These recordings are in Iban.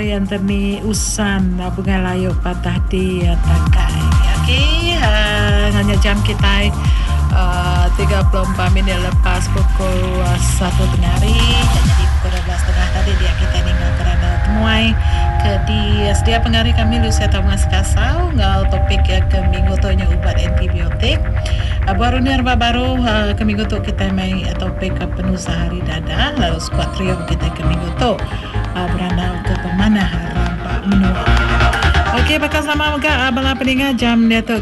pengari Anthony Usan Bungai Layu Patah di Tangkai. Okey nganya jam kitai 34 minit lepas pukul 1 tengah hari nya nyadi pukul 12 tengah tadi dia kitai ninga ke randau temuai ke di sedia pengari kami Lucia Thomas Kasau enggau topik iya ke minggu tu nya ubat antibiotik. Buah runding rebak baru ke minggu tu kitai mai topik penusah hari dada lalu skuad trio kitai ke minggu tu berandau ke pemanah rampa menua. Okey baka sama mega bala peninga jam diatu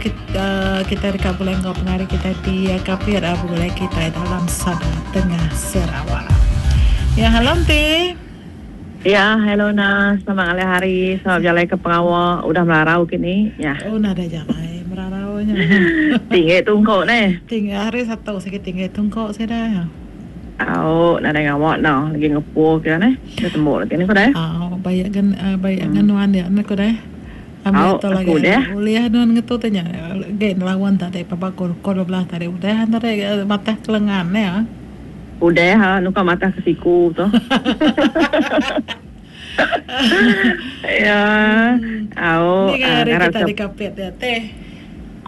kitai deka begulai enggau pengari kitai ti kapit begulai kitai dalam Sada Tengah Sarawak. Ya hello enti. Ya hello na selamat ngalih hari selamat bejalai ke pengawa udah merarau kini ya. Oh nadai jalai merarau nya. Tinggi tungko neh. Tinggi hari satu sigi tinggi tungko sida. Au nadai ngawa enda lagi ngepu ke neh enda tembu lagi ne ku deh. Au baik gen baik ngan nuan dia ne ku deh. Au Ambi tu aku lagi deh. ulih nuan ngetu ti nya agi nelaun tadi paba ku pukul 12 tadi udah tadi matah ke lengan ne. Udah ha nuka matah ke siku tu. Ya au Ni hari ngarap kita ke di Kapit dia teh.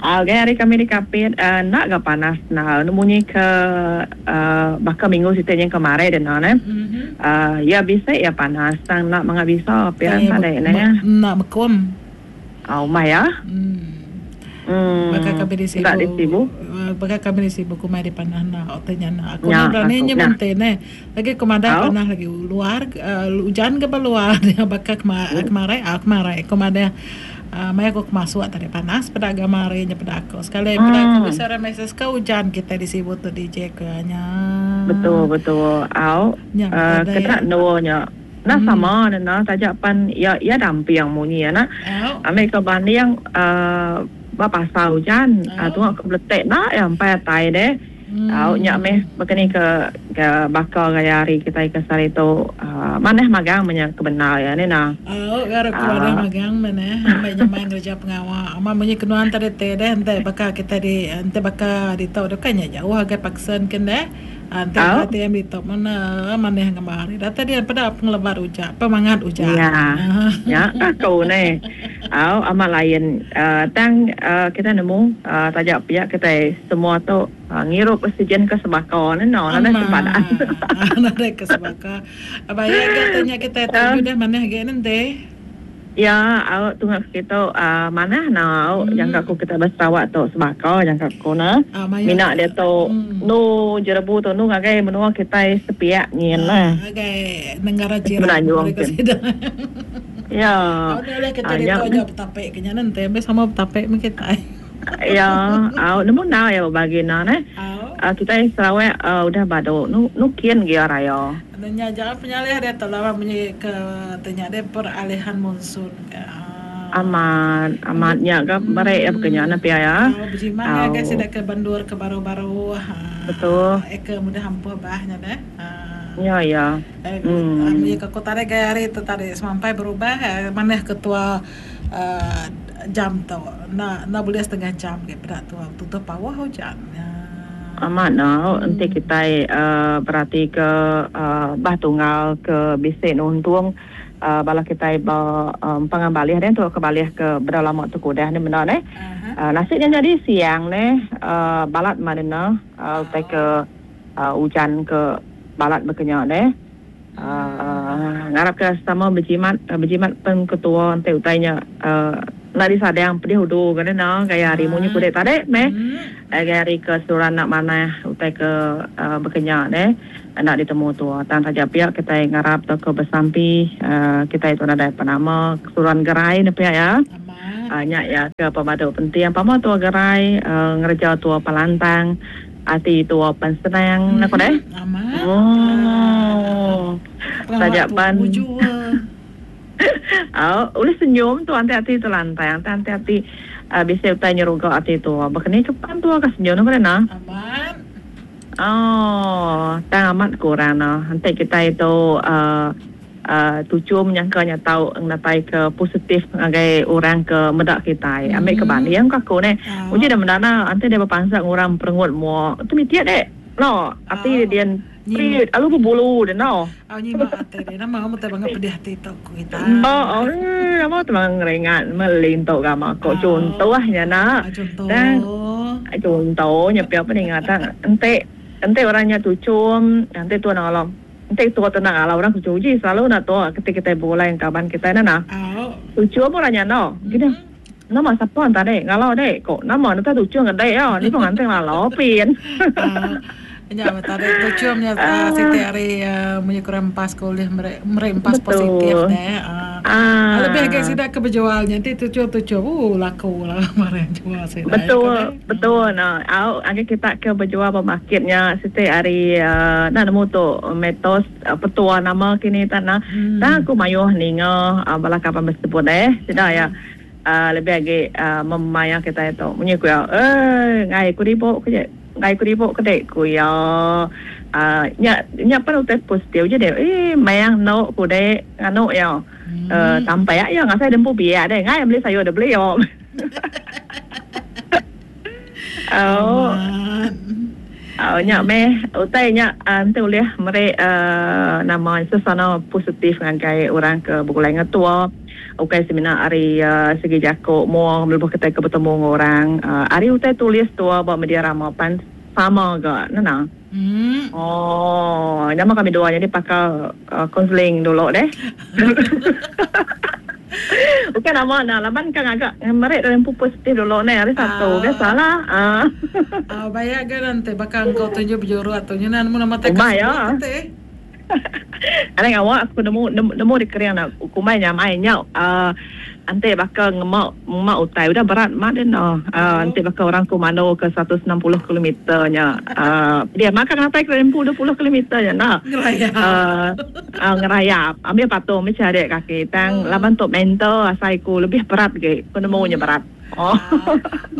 Au gai hari kami di Kapit enda ga panas enda anu munyi ke baka minggu siti nyin kemari deh ne. Iya bisi iya panas tang enda manga bisa pia enta deh ne. Enda bekum. Au mah iya. Baka kami di Enda di Sibu Sibu. Baka kami di Sibu kumai di panah enda utai nya enda. Aku Nya enda berani aku nyebut nah. enti neh. Lagi ku madah Au. panah lagi luar ujan ke ba luar baka kemarai au kemarai ku madah maya ku masuk tadi panas peda gambar hari nya peda aku. Sekali peda aku bisi orang mesej ka ujan kitai di Sibu tu DJ ku nya. Betul betul au. Nya mega Kena endur nya. Enda sama ne enda taja pan iya iya damping munyi anak. Ambi ke banding uhh ba pasar ujan uhh tunga ke beletek enda iya empai atai deh. Au nya meh baka ni ke ke baka gaya hari kitai ke sehari tu uhh manah magang meh nya ke bendar iya ne nah. Au ga ku manah magang meh neh ambi nyamai ngereja pengawa. Amat munyi ke nuan tadi ti deh enti baka kitai di enti baka ditu deh bukai nya jauh agai Parkson kin deh. Enti Au. ATM ditu mene manih ngemba hari datai dia peda pengelebat ujak pemangat ujak. Nya. Nya aku neh. Au amat lain uhh tang uhh kitai nemu uhh taja pia kitai semua tu uhh ngirup oksigen ke sebaka ne no nadai sempadan. Amat nadai ke sebaka. Baik ga tanya kitai tu udah manah agi ne enti. Ya au tunga ke kitu uhh manah ne au jangka ku kitai ba Sarawak tu sebaka jangka ku ne. Mina diatu endu jerebu tu endu ngagai menua kitai sepiak nyin lah. Ngagai negara jiran Semenanjung ke kin. sida. Ya. Au nya ulih kitai Nya ditu aja betapi ke nya nenti ambi sama betapi meh kitai. Ya au nemu enda iya bebagi enda neh. Kitai Sarawak udah badu nu kin gia raya. Nya aja penyalih diatu laban munyi ke ti nya deh peralihan monsun ka. Amat amat nya ga meri iya baka nya ne pia iya. Au bejimat ngagai sida ke bandur ke baru-baru Betul. Eh ke mudah ampuh bah nya deh. Nya iya. Munyi ke ku tadi gaya hari tu tadi semampai berubah manah ketua jam tu enda enda bulih setengah jam agi peda tu tutup pauh ujan. Amat ne enti kitai berati ke bah tunggal ke bisi nuntung bala kitai ba empangan balih deh tauka balih ke bedau lama tu ke udah ne menda neh. Nasit nya nyadi siang neh balat mah dene utai ke ujan ke balat baka nya deh. Ngarap ke sama bejimat bejimat pen ketua enti utai nya enda disadang pedih udu ke ne gaya hari munyi kudek tadi meh gaya hari ke seruran enda manah utai ke baka nya deh enda ditemu tua tang taja pia kitai ngarap tauka besampi kitai tu nadai penama seruran gerai ne pia iya nya iya ke pemadu penting pama tua gerai ngereja tua pelantang. Ati tua pan senang aku deh. Amat. Oh. Taja pan. Au, ulih senyum tu anti ati tu lantang, anti anti ati uh, bisi utai nyeruga ati tua. Baka ni ke pan tua ka senyum aku deh nah. Amat. Oh, tang amat kurang nah. Enti kitai tu uh, Tuchum nyangka nya tau ngenatai ke positif ngagai orang ke meda kitai. Ambi ke banding ku aku neh. Uji deh meda na enti deh bepansa ngurang perengut mua tu miti deh. No ati din. Nyima. Alu bebulu deh no. Au nyima ati deh. Nama amu tai bangat pedih ati tu ku kita. Ba oi nama tu bangat ngeringat melintu gama ko chunto nya na. Chunto. Tang chunto nya pia peninga tang enti enti orang nya tuchum enti tuan alam enti tua tu enda ngalau orang tuchum uji selalu enda tua keti kitai begulai enggau kaban kitai neh nah. Tuchum orang nya endo. Gini. Nama sapa enta dek ngalau dek ko nama enta tuchung ke dek iya ni pun nganting lalau pin. Nya meh tadi tuchum nya siti ari munyi kurang empas ke ulih meri meri empas positif deh. Lebih agi sida ke bejual nya enti tuchum tuchum ooh laku lah barang jual sida. Betul betul ne au agi kita ke bejual ba market nya siti ari enda nemu tu metos petua nama kini tan nah. Tang aku mayuh ninga bala kaban besebut deh sida iya. Lebih agi maya kitai tu munyi ku iya eii enggai ku ribu ke je enggai ku ribu ke dek ku iya uhh nya nya pan utai positif je deh eii mayang endo ku dek nganu iya uhh tampak iya ngasai dempu biak deh enggai beli sayur deh beli yo au au nya meh utai nya enti ulih meri uhh nama sesana positif ngagai orang ke begulai ngetua. Ukai semina ari segi jaku mua lebuh kitai ke betemu enggau orang, ari utai tulis tua ba media rama pan sama ga nena. Oh, nama kami dua nyadi pakar konseling dulu deh. Ukai nama enda laban ka ngaga meri diri empu positif dulu neh hari satu biasalah. Au baya ga enti baka engkau tunjuk bejurut tu nyunan nemu nama tai ka sebut ti. Anang ngawa aku nemu nemu dikering ne kumbai nyamai nya uhh enti baka ngema ngema utai udah berat mat deh ne uhh enti baka orang ku mandu ke 160 kilometer nya uhh dia makan atai ke empu 20 kilometer nya enda uhh ngerayap ambil patung mih charik kaki tang laban tu mental asai ku lebih berat agi ku nemu nya berat. Oh.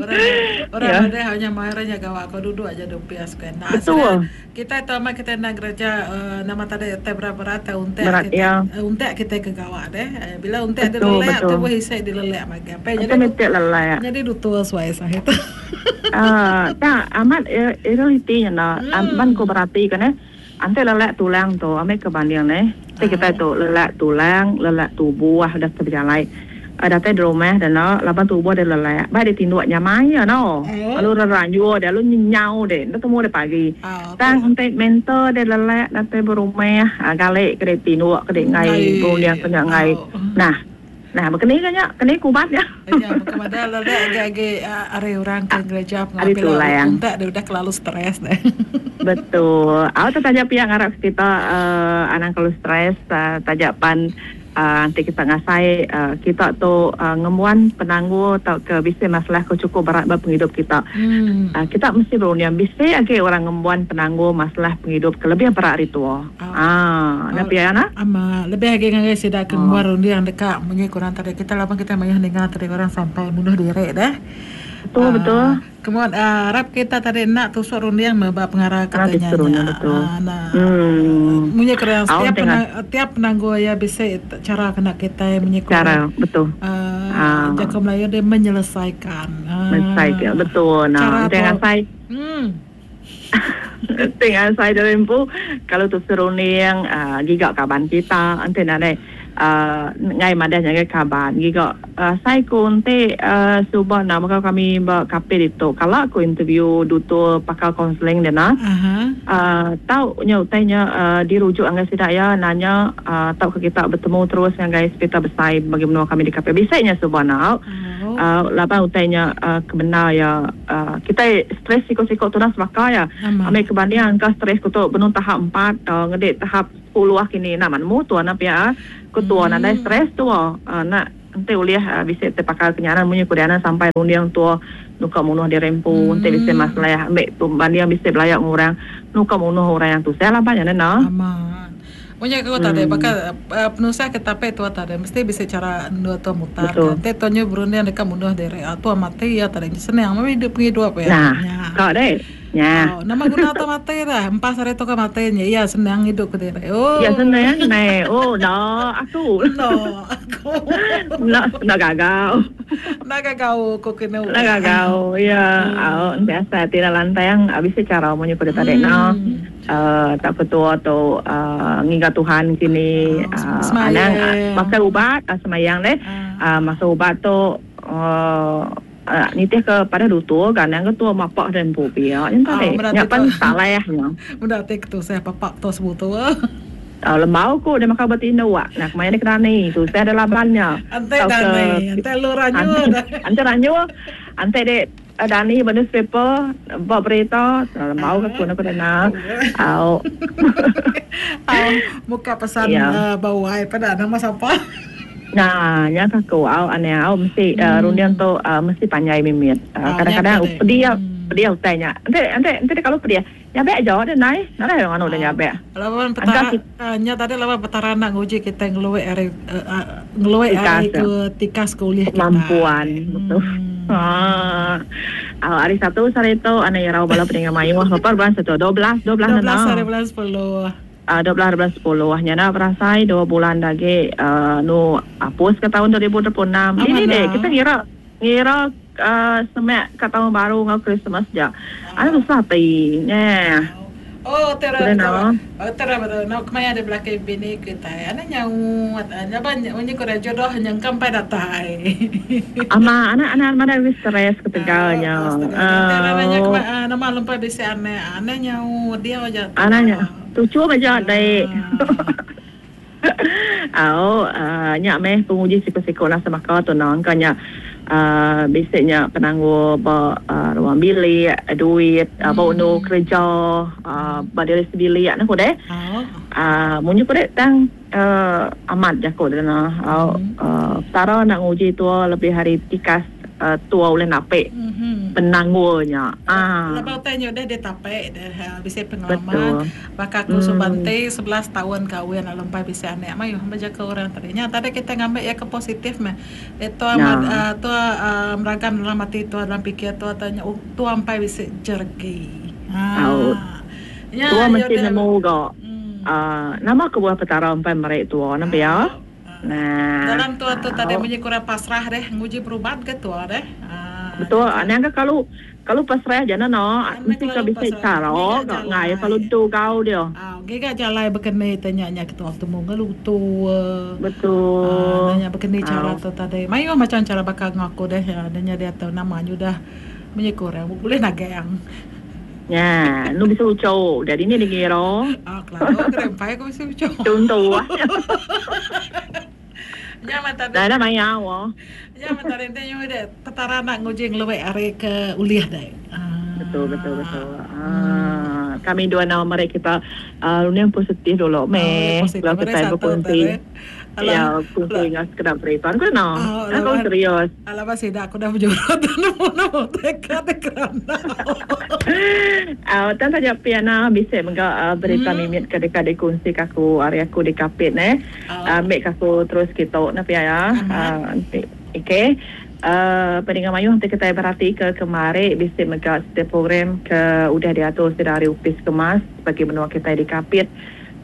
Orang orang yeah. Madah hanya mai orang nya gawa ko duduk aja di opis kan. Nah, Betul. Kita tu amat kita nak kerja uh, nama tadi utai berat-berat tai untek berat, kita ya. Uh, untek kita ke gawa deh. Uh, bila untek dia lelek tu boleh isai dia lelek magi. Apa jadi lelek. Jadi dutua suai sahit. Ah, tak amat realiti nya nah. Ban ko berati kan eh. Ante lelek tulang tu ambi ke banding neh. Ti kitai tu lelek tulang, lelek tubuh udah ke bejalai. Datai di rumah deh enda laban tubuh deh lelek. Bai deh tinduk nyamai iya no. Lalu reranjur deh lalu nyenyau deh enda temu deh pagi. Tang enti mental deh lelek datai berumah gali ke deh tinduk ke deh enggai berunding ke nya enggai. Nah. Nah, baka ni ka nya? Keni ku ubat nya? Nya baka madah lelek agi agi ari orang ke ngereja Ari pengawa tulang. untak deh udah kelalu stress deh. Betul. Au tu taja pia ngarap kita uhh anang kelalu stress taja pan uhh enti kita ngasai uhh kita tu uhh ngembuan penanggul tauka bisi masalah ke chukup berat ba pengidup kita. Uhh kita mesti berunding bisi agi orang ngembuan penanggul masalah pengidup ke lebih berat ari tua. Haa, nya pia nah. Ama, lebih agi ngagai sida ke ngembuan runding deka munyi ku orang tadi kita laban kita mayuh ninga tadi orang sampai munuh diri deh. Betul betul. Kemuan arap kita tadi enda tusuk runding meh ba pengara ke tanya nya. Aa munyi ku orang setiap tiap penanggul iya bisi chara kena kitai munyi ku orang. Chara betul. Aa jaku Melayu deh menyelesaikan. Menyelesaikan betul nah. Enti ngasai. Enti ngasai diri empu kalau tu serunding uhh giga kaban kita enti nadai uhh enggai madah ngagai kaban giga asai ku enti uhh suba enda baka kami ba Kapit ditu kala ku interview dutur pakar kaunseling deh nah uhh tau nya utai nya uhh dirujuk ngagai sida iya nanya uhh tauka kita betemu terus ngagai sepital besai bagi menua kami di Kapit bisi nya suba enda uhh laban utai nya uhh kebendar iya. Kitai stress siko-siko tudah sebaka iya. Ambi ke banding engka stress ku tu benung tahap empat ngedi tahap sepuluh kini enda mah nemu tua enda pia. Ku tua nadai stress tua enda enti ulih bisi ti pakar kenyaran munyi ku diana sampai runding tua nuka munuh diri empu enti bisi masalah ambi tu banding bisi belaya enggau orang nuka munuh orang yang tusah laban nya neh. Munyi ku tadi baka penusah ke tapi tua tadi mesti bisi chara endur tua mutar ka. Enti tua nyu berunding deka munuh diri tua mati iya tadi senang meh idup pengidup iya. Nah, ka deh. Nya. Oh, nama guna tua mati dah. Empas hari tua ka mati nya iya senang idup kediri. Oh. Iya senang neh. Oh, enda aku. Enda aku. Enda enda gagau. Enda gagau ku kenu. Enda gagau. Iya. Au enti asai ti enda lantang bisi chara munyi ku deh tadi noh. Uh, tak ketua tu uh, ngiga Tuhan kini uh, anang makai ubat uh, semayang deh. Makai ubat tu uh, uh, nitih ke pada dutur kan yang ketua mapak dan empu pia yang tadi. Nya pan salah nya. Mudah tik tu saya papak tu sebutu. Lembau ku dia makai ubat indu ah. Nah kemaya dia kena ni tu saya ada labannya. Ante dani, ante lu ranyu. Ante ranyu, ante dek Dani ba newspaper ba berita lembau ka aku ku dana. Au. Au muka pesan yeah. ba wai peda nama sapa. Nah, nya ka aku au ane au mesti uh, runding tu uh, mesti panjai mimit. Kadang-kadang pedih pedih utai nya. Ente ente ente kalau pedih nyabek aja deh nai. Nadai orang anu deh nyabek. Laban petara nya tadi laban petara nak nguji kita ngeluek ari ngeluek ari ke tikas ke ulih kita. Kemampuan betul. Ha. Hari Satu sehari tu anak irau bala peninga mayuh berapa bulan satu? 12 12 12 hari bulan 10. 12 hari bulan 10 nya enda berasai dua bulan da agi nu apus ke taun 2026. Dini deh kita ngira ngira semak ka taun baru enggau Christmas ja. Ai tusah ati nyeh. Oh tera betul. Oh tera betul. Nau kemaya deh belaki bini kitai. Anak nyaut. Laban munyi ku deh jodoh nyengka empai datai. Ama anak anak madai lebih stress ketegal nya. Tera nanya nama lempai bisi anak. Anak nyaut diau aja. Anak nya tuchum aja dai. Au nya meh penguji siku-siku nasa baka tu no engka nya uhh bisi nya penanggul ba ruang bilik duit ba undu kereja uhh ba diri sebilik ne ku deh uhh munyi ku deh tang uhh amat jaku deh no au uhh petara enda nguji tua lebih ari tikas tua ulih napi penanggul nya. Lebuh utai nya udah ditapi bisi pengalaman baka aku suba enti 11 taun kawin lalu empai bisi anak mayuh bejaku orang tadi. Nya tadi kitai ngambi iya ke positif meh. Tua tua meragam dalam ati tua dalam pikir tua nya tua empai bisi jereki. Nya tua mesti nemu ga nama kebuah Petara empai meri tua ne pia. Nah. Dalam tua tu tadi munyi kurang pasrah deh, nguji berubat ke tua deh. Betul, anang ke kalu kalu pasrah ja ne no, mesti ke bisi cara ga ngai kalu tu gau dia. Giga jalai bekeni te nya nya ketua betemu enggau lutu. Betul. Nanya bekeni cara tu tadi. Mayuh macam cara baka enggau aku deh, nya diatu nama nyudah munyi kurang bulih nagang. Nya, nu bisi uchu. Jadi ni dikira. Ah, kelalu ke empai aku bisi uchu. Contoh. Nya mah tadi. Dah maya wa. Nya mah tadi enti nyu dek petara nak nguji ngeluek ari ke ulih dek. Ah. Betul betul betul. Ah, kami dua nama meri kita uh, runding positif dulu meh. Oh, Kalau kita berkongsi. Ya, kongsi dengan sekedar berita. Aku nak. Aku serius. Alah ba sida aku dah bejurut nemu nemu teka te kerana. Au tang taja pia na bisi mega berita mimit ke deka dikunsi ka aku ari aku di Kapit neh. Ambi ka aku terus kitu ne pia ya. Enti okey. Peninga mayuh enti kitai berati ke kemari bisi mega siti program ke udah diatur sida ari Opis Kemas bagi menua kitai di Kapit.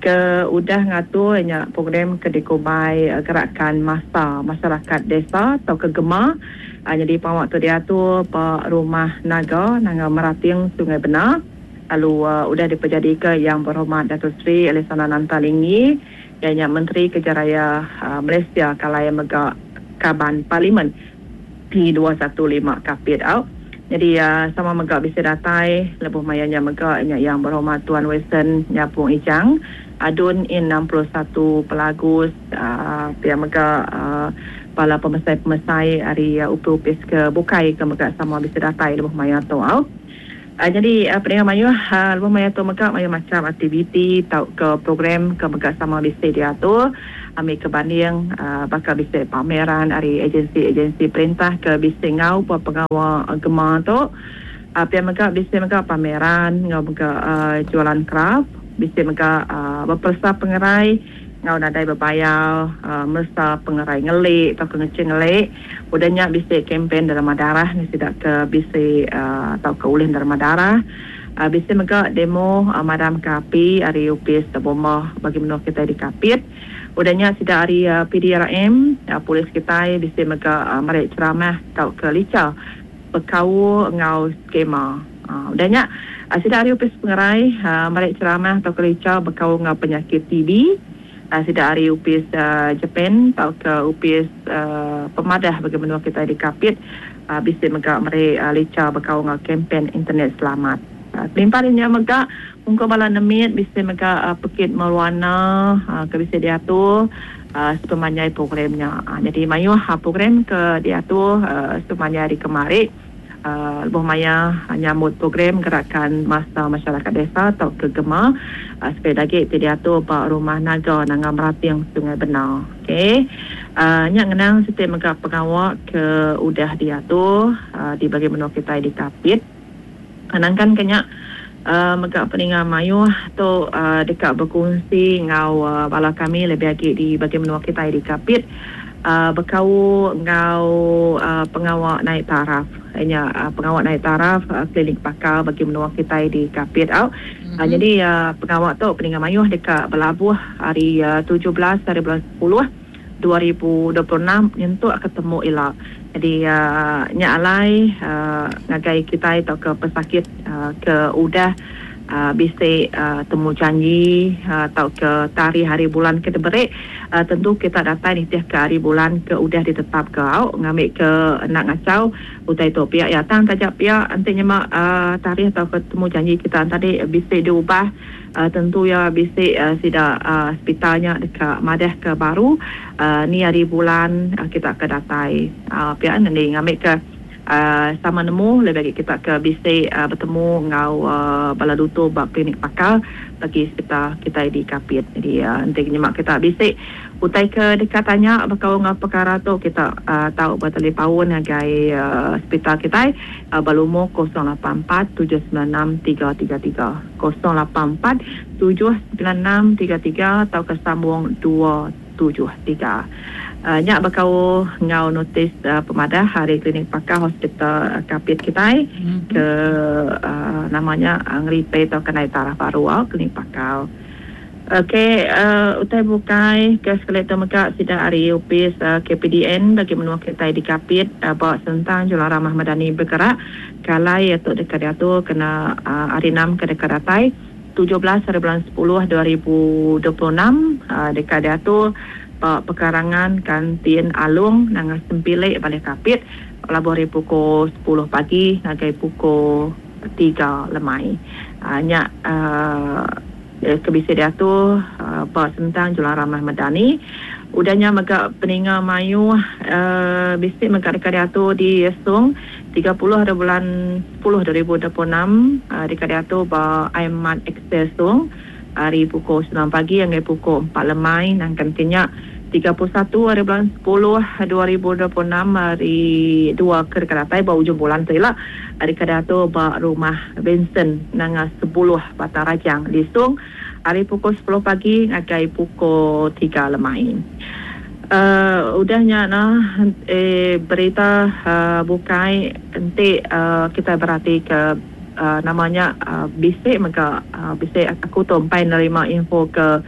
ke udah ngatur nya program ke dikumbai Gerakan Massa Masyarakat Desa tauka GEMA nyadi pengawa tu diatur ba Rumah Naga Nanga Merating Sungai Bena lalu udah dipejadika Yang Berhormat Dato Sri Alexander Nanta Linggi iya nya Menteri Kerja Raya Malaysia kalai mega Kaban Parlimen P215 Kapit au. Nyadi sama mega bisi datai lebuh maya nya mega nya Yang Berhormat Tuan Wilson Nyapung Ijang, Adun In 61 Pelagus, pia mega bala pemesai-pemesai ari upis-upis ke bukai ke mega sama bisi datai lebuh maya tu au. Nyadi peninga mayuh lebuh maya tu mega mayuh macham aktiviti tauka program ke mega sama bisi diatur. Ambi ke banding baka bisi pameran ari agensi-agensi perintah ke bisi enggau ba pengawa gema tu. Pia mega bisi mega pameran enggau mega jualan kraf, bisi mega beperesa pengerai enggau nadai bebayar meresa pengerai ngeli tauka ngeching ngeli. Udah nya bisi kempen derma darah ngi sida ke bisi tauka ulih derma darah. Bisi mega demo madamka api ari Opis Bomba bagi menua kitai di Kapit. Udah nya sida ari PDRM, polis kitai bisi mega meri ceramah tauka licha bekaul enggau skema. Udah nya. Sida ari Opis Pengerai meri cheramah tauka licha bekaul enggau penyakit TB. Sida ari Opis Japan tauka Opis Pemadah bagi menua kitai di Kapit bisi mega meri licha bekaul enggau kempen internet selamat. Kelimpah ari nya mega ungkup bala nemit bisi mega pekit mewarna ke bisi diatur sepemanjai program nya. Nyadi mayuh program ke diatur sepemanjai hari kemari lebuh maya nyambut program Gerakan Masa Masyarakat Desa tauka GEMA sekali agi ti diatur ba Rumah Naga Nanga Merating Sungai Bena. Ok. Nya ngenang siti mega pengawa ke udah diatur di bagi menua kitai di Kapit. Nangkan ke nya mega peninga mayuh tu deka bekunsi enggau bala kami lebih agi di bagi menua kitai di Kapit bekaul enggau pengawa naik taraf nya pengawa naik taraf klinik pakar bagi menua kitai di Kapit au. Nyadi pengawa tu peninga mayuh deka belabuh hari 17 hari bulan 10 2026 nyentuk ke temu ila. Nyadi nya alai ngagai kitai tauka pesakit ke udah bisi temu janji tauka tarikh hari bulan ke diberi tentu kita datai nitihka hari bulan ke udah ditetapka au ngambika enda ngachau utai tu pia iya. Tang taja pia enti nyema tarikh tauka temu janji kita tadi bisi diubah Tentu iya bisi sida sepital nya deka madahka baru ni hari bulan kita ke datai. Pia ngendi ngambika sama nemu lebih agi kita ke bisi betemu enggau bala lutur ba klinik pakar bagi sepital kitai di Kapit. Jadi enti nyema kita bisi utai ke deka tanya bekaul enggau pekara tu kita tau betalipaun ngagai sepital kitai ba lumur 084 796 333. 084 796 33 tauka sambung 273. Nya bekaul enggau notis pemadah ari Klinik Pakar Hospital Kapit kitai ke nama nya ngeripei tauka naik taraf baru au Klinik Pakar. Ok utai bukai ke sekali tu mega sida ari opis KPDN bagi menua kitai di Kapit ba sentang Julau Ramah Madani Bergerak ke alai iya tu deka diatur kena hari enam ke deka datai 17 hari bulan 10 2026 deka diatur ba pekarangan Kantin Along Nanga Sempili Balih Kapit belabuh ari pukul 10 pagi ngagai pukul 3 lemai. Nya ke bisi diatur ba sentang Julau Ramah Medani. Udah nya mega peninga mayuh bisi mega deka diatur di Song 30 hari bulan 10 2026 deka diatur ba Aimat Excel Song ari pukul 9 pagi ngagai pukul 4 lemai nangkan ke nya 31 hari bulan 10 2026 hari dua ke deka datai ba ujung bulan tu ila deka diatur ba Rumah Vincent Nanga Sebuluh Batang Rajang di Song ari pukul 10 pagi ngagai pukul 3 lemai. Udah nya nah berita bukai enti kitai beratika nama nya bisi mega bisi aku tu empai nerima info ke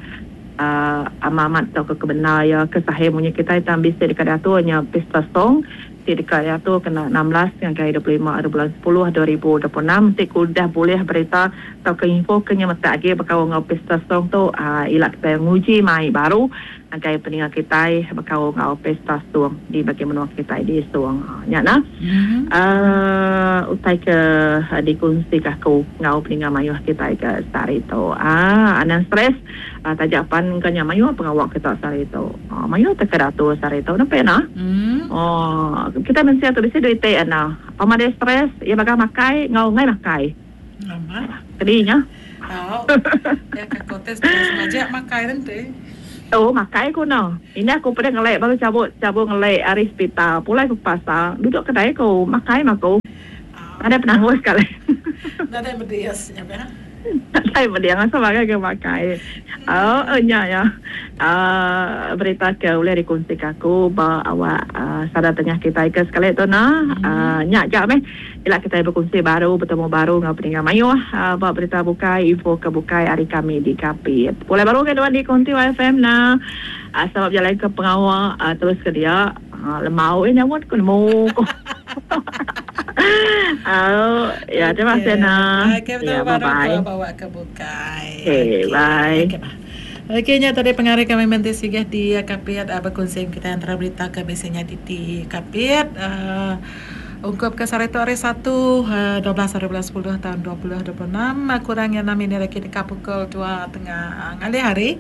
amat amat tauka ke bendar iya ke sahih munyi kitai tang bisi deka diatur nya Pesta Song ti deka diatur kena 16 ngagai 25 ari bulan 10 2026 enti ku udah bulih berita tauka info ke nyemetak agi bekaul enggau Pesta Song tu ila kitai nguji mai baru ngagai peninga kitai bekaul enggau Pesta Song di bagi menua kitai di Song. Nya nah utai ke dikunsika aku enggau peninga mayuh kitai ke sehari tu. Anang stress taja pan engka nya mayuh pengawa kita sehari tu. Mayuh teka diatur sehari tu nempe nah. Kitai mensia tu bisi dua iti enda. Pama deh stress iya baga makai enggau enggai makai. Amat. Kedi nya. Tau. Ya ka ko te stress majak makai renti. Oh makai ku no. Indah ku peda ngelek baru cabut cabut ngelek ari sepital pulai ku ke pasar duduk kedai ku makai mah ku. Nadai penanggul sekali. Nadai medis nya pia. Nadai medis asal makai ke makai. Oh nya ya. Aaa berita ke ulih dikunsika aku ba awak sada tengah kitai ke sekali tu nah. Aaa nya aja meh ila kitai bekunsi baru betemu baru enggau peninga mayuh ba berita bukai info ke bukai ari kami di Kapit. Pulai baru ngagai nuan di Kunti YFM nah. Selamat bejalai ke pengawa terus ke dia. Lemau eh nyamut ku nemu ku. Au, ya terima kasih na. Okey, Ya, betul baru bye-bye. ku bawa ke bukai. Okey, bye. Okey, bah. Okey nya tadi pengari kami menti sigah di Kapit bekunsi kita antara berita ke bisi nyadi di Kapit ungkup ke sehari tu hari Satu 12 hari bulan 10 taun 2026 kurang iya 6 minit agi deka pukul 2 tengah ngalih hari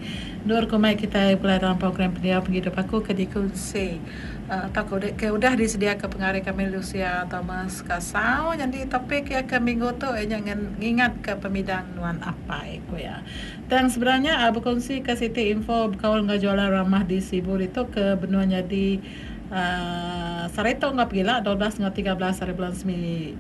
endur ku mai kitai pulai dalam program Pendiau Pengidup Aku ke dikunsi Tauka udah ke udah disediaka pengari kami Lucia Thomas Kasau nyadi topik iya ke minggu tu iya nya ngingatka pemidang nuan apai, ku iya. Tang sebedau nya bekunsika siti info bekaul enggau jualan ramah di Sibu ditu ke benung nyadi uhh sehari tu enggau pegila 12 enggau 13 hari bulan semi.